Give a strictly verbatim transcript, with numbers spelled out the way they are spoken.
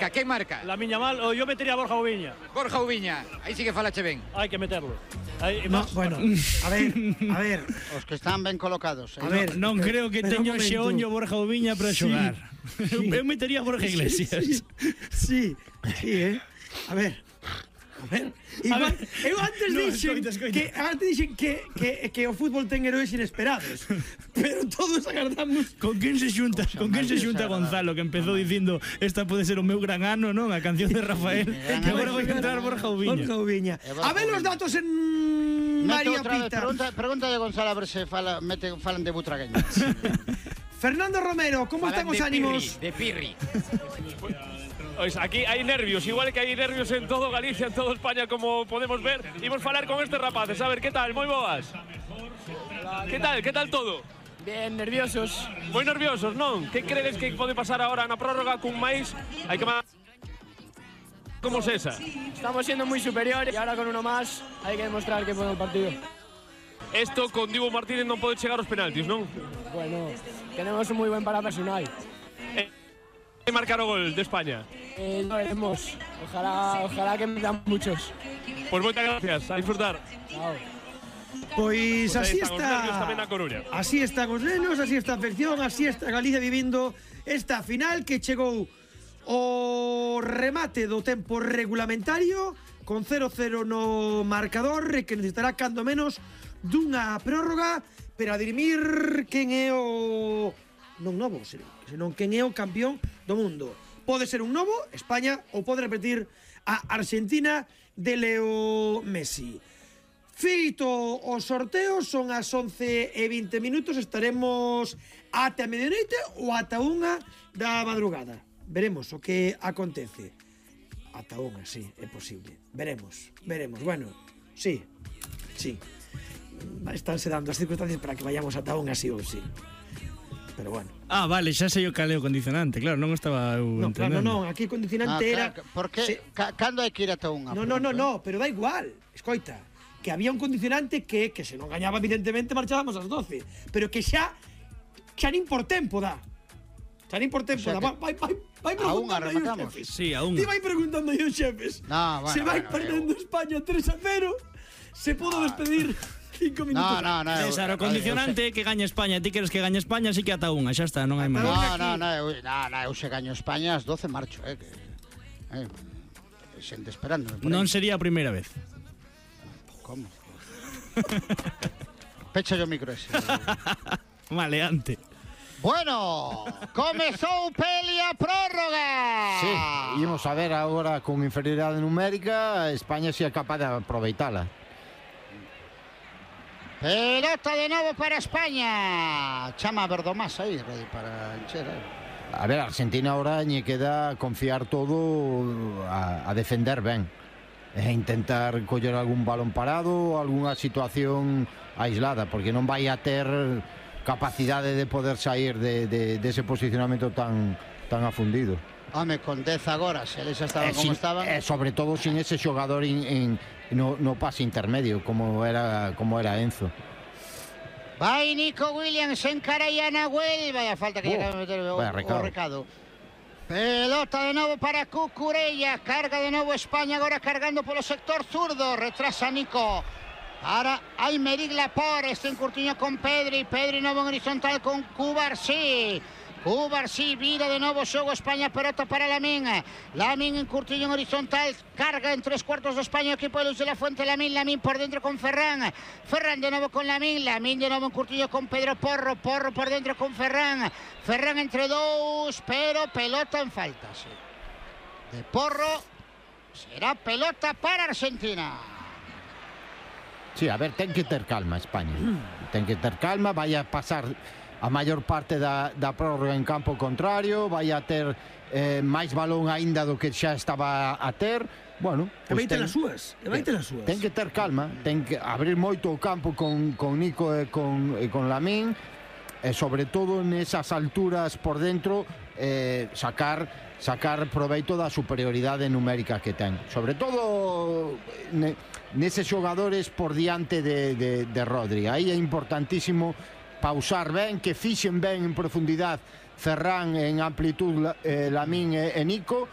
marca? Quen marca? Lamine Yamal, ou yo metería a Borja Oubiña. Borja Oubiña, aí sí que falache ben. Hai que meterlo. Aí, no, bueno, a ver, a ver. Os que están ben colocados. A ver, non creo que teño xeoño Borja Oubiña para xogar. Sí. Eu metería a Borja Iglesias. Sí, sí, sí, eh. A ver. A ver, igual, eu antes no, dixen escoita, escoita. que antes dixen que, que, que o fútbol ten heróis inesperados. Pero todos agardamos. Con quen se xunta? Con quen se xunta Gonzalo, que empezou dicindo esta pode ser o meu gran ano, non? A canción de Rafael. Que agora vai entrar Borja Oubiña. Borja Oubiña. A ver os datos en María Pita. Pregunta, pregunta de Gonzalo a ver se fala, mete, falan de Butragueño. Fernando Romero, como están os ánimos? De Pirri. Pois aquí hai nervios, igual que hai nervios en todo Galicia, en todo España, como podemos ver. Imos falar con estes rapaces, a ver, que tal? Moi boas. Que tal? Que tal todo? Bien, nerviosos. Moi nerviosos, non? Que credes que pode pasar agora na prórroga cun máis? Hai que máis como Sesa. Estamos siendo muy superiores y ahora con uno más hay que demostrar que puede el partido. Esto con Dibu Martínez non pode chegar aos penaltis, non? Bueno, tenemos un muy buen para personal. Eh, marcar o gol de España. Eh, lo veremos. Ojalá, ojalá que metan muchos. Pues moitas gracias, a disfrutar. Chao. Pois Pues así está. está. Así están os nenos, así está a afección, así está Galicia vivindo esta final que chegou o remate do tempo regulamentario con cero cero no marcador e que necesitará cando menos dunha prórroga para dirimir quen é o non novo, senón quen é o campeón do mundo. Pode ser un novo, España, ou pode repetir a Argentina de Leo Messi. Feito o sorteo, son as once e vinte minutos, estaremos ata a medianoite ou ata unha da madrugada. Veremos o que acontece. Ata unha, sí, é posible. Veremos, veremos. Bueno, sí, sí. Estánse dando as circunstancias para que vayamos ata unha sí ou sí. Pero bueno. Ah, vale, xa sei o caleo condicionante. Claro, non estaba eu no, entendendo. Claro, non, aquí o condicionante ah, era... Por que? Se... Cando hai que ir ata unha? No, no, no, no, pero da igual. Escoita, que había un condicionante que, que se non gañaba, evidentemente, marchábamos ás doce. Pero que xa, xa nin por tempo dá. Xa nin por tempo o sea dá. Vai, vai, vai preguntando aí os xefes. Sí, a unha. Ti vai preguntando aí os xefes. No, bueno, se vai bueno, perdendo eu... España tres a cero, se podo despedir... cinco minutos. No, no, no. César, o condicionante que gaña España. Ti queres que gañe España, así que ata unha, xa está, non hai máis. No, no, no, eu, no, no, eu se gaño España ás doce marcho, eh, que eh, xente esperando. Non sería a primeira vez. Como? Pecha o micro ese. Maleante. Bueno, comezou peli a prórroga. Sí, ímos a ver agora con inferioridade numérica, España si é capaz de aproveitala. Pelota de novo para España. Chama a Verdomás aí, para encher. A ver, Argentina ahora lle queda confiar todo a, a defender ben e intentar coller algún balón parado, algunha situación aislada, porque non vai a ter capacidade de poder sair de, de, de ese posicionamento tan, tan afundido. Home, con dez agora, se eles estaban como estaban. E sobre todo sin ese xogador in, in, no, no pase intermedio como era, como era Enzo. Vai Nico Williams, encara a Nahuel. Vaya falta que oh, llega a meter o, recado. o recado. Pelota de novo para Cucurella. Carga de novo España agora cargando polo sector zurdo. Retrasa Nico. Ahora Aymeric Laporte, este encurtiño con Pedri. Pedri novo en horizontal con Cubarsí. Cubarsí vira de novo xogo España, pelota para Lamín. Lamín en curtillo en horizontal, carga en tres cuartos de España, equipo de Luz de la Fuente. Lamín, Lamín por dentro con Ferran. Ferran de novo con Lamín, Lamín de novo en curtillo con Pedro Porro. Porro por dentro con Ferran. Ferran entre dous, pero pelota en falta, sí. De Porro, será pelota para Argentina. Sí, a ver, ten que ter calma España. Ten que ter calma, vai a pasar a maior parte da, da prórroga en campo contrario, vai a ter eh, máis balón aínda do que xa estaba a ter. Bueno, pues vai ter as súas, vai ter as súas. Ten que ter calma, ten que abrir moito o campo con, con Nico e con, e con Lamín, e sobre todo nesas alturas por dentro eh, sacar sacar proveito da superioridade numérica que ten, sobre todo ne, neses xogadores por diante de, de, de Rodri. Aí é importantísimo pausar ben, que fixen ben en profundidade Ferran, en amplitud eh, Lamín e, e Nico,